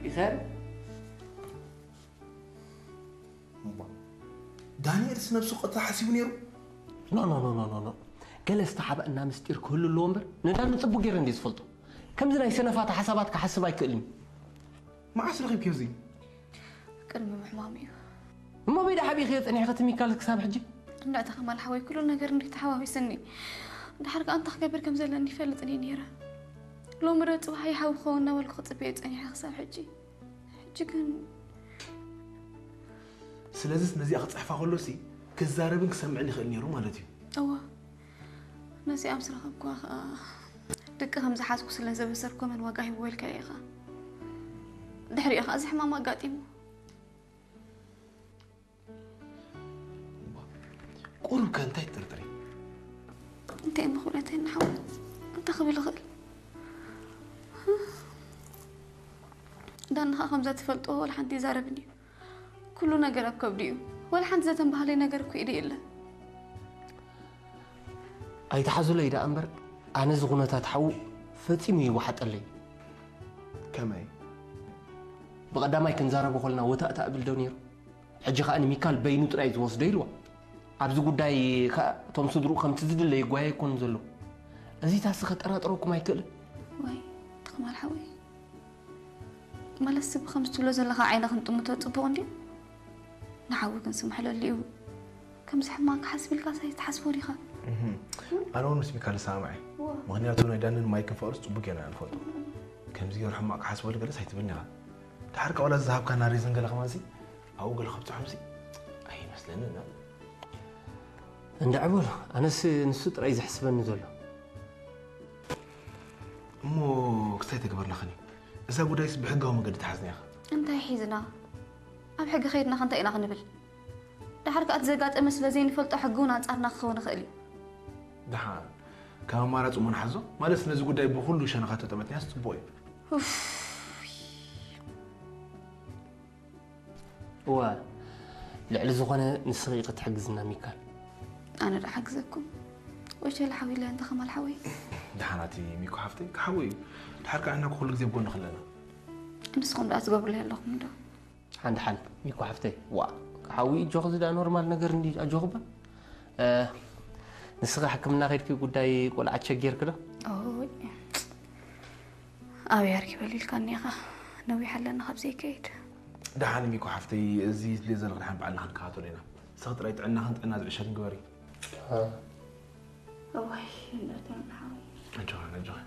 ይኸር እምባ ዳንኤልስ ነብሱ ቅትላ ሓሲቡ ነይሩ። ኖ ኖ ኖ ኖ ኖ ኖ ገለ ዝተሓበአና ምስጢር ክህሉ ኣለዎ እምበር ንዳኒ ጽቡቅ ገይረ እንድየ ዝፈልጦ። ከምዚ ናይ ሰነፋት ሓሳባት ክሓስብ ኣይክእልን እዩ። መዓስ ረኺብክዮ እዚ? ቅድሚ ምሕማሙ እዩ። እሞ በይዳ ሓቢእኽዮ ጸኒሕኺ እቲ ሚካል ክሳብ ሕጂ? እንዳ ተኸማል ሓወይ ኩሉ ነገር እንዲ ተሓዋዊስኒ። ድሓር ከኣ እንታይ ክገብር ከም ዘለኒ ይፈልጥ እየ ነይረ። ሎሚ ዶ ጽባሕ ይሓዊ ክኸውን እናበልኩ ክጽበዮ ጸኒሐ ክሳብ ሕጂ። ሕጂ ግን ስለዚስ ነዚኣ ክጽሕፋ ከሎሲ ክዛረብን ክሰምዕን ይኽእል ነይሩ ማለት እዩ። እዋ ነዚኣ ምስ ረኸብኩዋ ኸኣ ደቂ ከም ዝሓዝኩ ስለ ዘበሰርኩ መን ዋጋ ሂብዎ ኢልካዮ ኢኻ። ድሕሪኡ ኸኣ እዚ ሕማም ኣጋጢሙ። ቁሩብ ከ እንታይ ትጥርጥሪ? እንታይ እሞ ክብለተይ ንሓው እንታይ ክብል እኽእል? ዳኒ ኸኣ ከምዛ ትፈልጦ ወላ ሓንቲ ይዛረብን እዩ። ኩሉ ነገር ኣብ ከብዱ እዩ። ወላ ሓንቲ ዘተንባሃለይ ነገር እኮ ኢደ የለን። ኣይትሓዙለይ ደኣ እምበር ኣነ እዚ ኩነታት ሓዉ ፈጺሙ ይወሓጠለይ። ከመይ? ብቐዳማይ ክንዛረቦ ከለና ወታእታ እብል ዶ ነይሩ? ሕጂ ኸኣ ንሚካል በይኑ ጥራይ ዝወስዶ ኢልዋ። ኣብዚ ጉዳይ ኸኣ እቶም ስድርኡ ከምቲ ዝድለ ይጓየ ኣይኮኑን ዘለዉ። እዚታሲ ከጠራጥረኩም ኣይክእልን። ዋይ ተኸማል ሓወይ ማለት ሰብ ከምዚ ትብሎ ዘለኻ ዓይነ ክንጥምቶ ጽቡቕ እንድዩ። ንሓዊ ክንስምሕለሉ እዩ። ከምዚ ሕማቕ ክሓስብ ኢልካ ሳይ ትሓስቦ ዲኻ? ኣነ እውን ምስ ሚካል ዝሰማማዕ እዩ። ምክንያቱ ናይ ዳንን ማይክን ፍቅርስ ጽቡቅ ጌርና ንፈልጦ። ከምዚ ገይሩ ሕማቅ ክሓስበሉ ገለስ ኣይትብልን ኢኻ። ድሓር ቃውላ ዝሃብካና ሪዝን ገለ ከማንሲ ኣብኡ ገለ ከብጽሖምሲ ኣይመስለንን። እንድዒ በሉ ኣነስ ንሱ ጥራይ ዘሕስበኒ ዘሎ። እሞ ክስታይ ተግበርና ኸኒ እዛ ጉዳይስ ብሕጋዊ መገዲ ተሓዝና ኢኻ። እንታይ ሒዝና ኣብ ሕጊ ከይድና ከ እንታይ ኢና ክንብል? ድሓር ከኣ እቲ ዘጋጠመ ስለ ዘይንፈልጦ ሕጊ እውን ኣንጻርና ክኸውን ይኽእል እዩ። ደሓን ከም ኣማራፂ እሞ ንሓዞ። ማለትስ ነዚ ጉዳይ ብኹሉ ሸነኻት ተጠመትናዮስ ፅቡቕ እዩ። ኡፍ። እወ ልዕሊ ዝኾነ ንስኺ ኢኺ ትሕግዝና ሚካል። ኣነ ዶ ሓግዘኩም? ወሸለ ሓዊለ እንተ ኸማል ሓወይ። ደሓን ኣቲ ሚኮ ሓፍተይ ክሓወይ እዩ። ድሓር ከኣ ንሕና ኩሉ ግዜ ብጎንኺ ኣለና። ንስኹም ደኣ ትገብሩለይ ኣለኹም ዶ? ሓን ደሓን ሚኮ ሓፍተይ ዋእ ክሓዊ እዩ ኣጆኺ እዚ ደኣ ኖርማል ነገር እንድዩ ኣጆኺ እባ። ንስኺ ሕክምና ከይድኪ ጉዳይ ቆልዓ ቸጊርኪ ዶ? ኦይ ኣበይ ኣርኪበሉ ኢልካኒ ኢኻ ነዊሕ ኣለና ካብ ዘይከይድ። ደሓን ሚኮ ሓፍተይ እዚ ዝድልዮ ዘሎ ክንሓን ባዕልና ክንከታተሎ ኢና። ንስኺ ጥራይ ጥዕናኽን ጥዕና ዝዕሸልን ግበሪ። እዋይ እንዳተን ሓወይ ኣጆኺ ኣጆኺ።